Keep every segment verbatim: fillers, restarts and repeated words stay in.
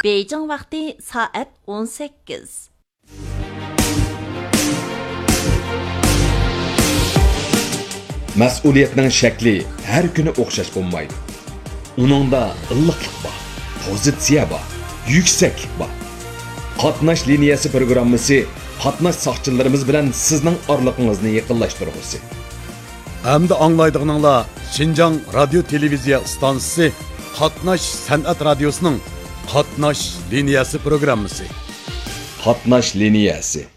بېيجىڭ ۋاقتى سائەت ئون سەككىز. مەسئۇلىيەتنىڭ شەكلى ھەر كۈنى ئوخشاش بولمايدۇ. ئۇنىڭدا ئىللىقلىق بار، پوزىتسىيە بار، يۈكسەكلىك بار. قاتناش لىنىيەسى پروگراممىسى قاتناش ساقچىلىرىمىز بىلەن سىزنىڭ ئارىلىقىڭىزنى يېقىنلاشتۇرغۇسى. ئەمدى ئاڭلايدىغىنىڭلار شىنجاڭ رادىيو تېلېۋىزىيە ئىستانسىسى قاتناش سەنئەت رادىيوسىنىڭ قاتناش لىنىيەسى پروگراممىسى. قاتناش لىنىيەسى.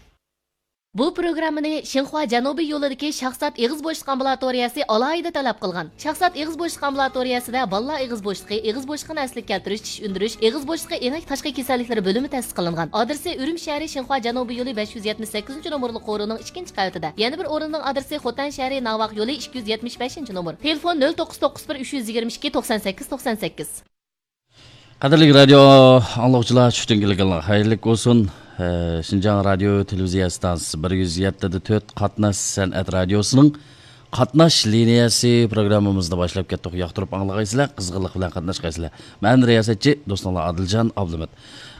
بۇ پروگراممىنى شىنخۇا جەنۇبىي يولىدىكى شاھزات ئېغىز بوشلۇق ئامبۇلاتورىيەسى ئالاھىدە تەلەپ قىلغان. شاھزات ئېغىز بوشلۇق ئامبۇلاتورىيەسىدە بالىلار ئېغىز بوشلۇقى، ئېغىز بوشلۇقىنى ئەسلىگە كەلتۈرۈش، چىش ئۈندۈرۈش، ئېغىز بوشلۇقى ئېڭەك تاشقى كېسەللىكلىرى بۆلۈمى تەسىس قىلىنغان. ئادرېسى ئۈرۈمچى شەھىرى شىنخۇا جەنۇبىي يولى بەش يۈز يەتمىش سەككىزىنچى نومۇرلۇق قورۇنىڭ ئىككىنچى قەۋىتىدە. يەنە بىر ئورۇننىڭ ئادرېسى خوتەن شەھىرى ناۋاق يولى ئىككى يۈز يەتمىش بەشىنچى نومۇر. تېلېفون: نۆل توققۇز توققۇز بىر ئۈچ يۈز يىگىرمە ئىككى توقسان سەككىز توقسان سەككىز. قەدىرلىك رادىيو ئاڭلىغۇچىلار، چۈشتىن كېلىگەنلەر خەيرلىك بولسۇن. ئە، شىنجاڭ رادىيو تېلېۋىزىيە ئىستانسىسى بىر يۈز يەتتە دە تۆت قاتناش سەنئەت رادىيوسىنىڭ قاتناش لىنىيەسى پروگراممىمىزنى باشلاپ كەتتۇق. ياقتۇرۇپ ئاڭلىغايسىلەر، قىزغىنلىق بىلەن قاتناشقايسىلەر. مەن رىياسەتچى دوستۇڭلار ئادىلجان ئابلىمىت.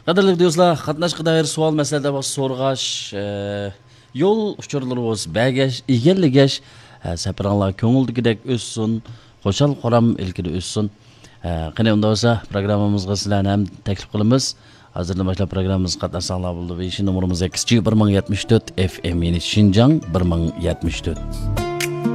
قەدىرلىك دوستلار، قاتناشقا دائىر سوئال، مەسىلە دەپ سورىغاچ، ئە، يول ئۇچۇرلىرى بولسا بەرگەچ، ئىگىلىگەچ، ئە، سەپىرىڭلار كۆڭۈلدىكىدەك ئۆتسۇن، خۇشال-خۇرام ئىلكىدە ئۆتسۇن. ئە، قېنى، ئۇنداق بولسا، پروگراممىمىزغا سىلەرنى ھەم تەكلىپ قىلىمىز. ھازىردىن باشلاپ پروگراممىمىزغا قاتناشساڭلار بولىدۇ. بېيىش نومۇرىمىز ئېكس جى بىر مىڭ يەتمىش تۆت ئېف ئېم، يەنى شىنجاڭ بىر مىڭ يەتمىش تۆت.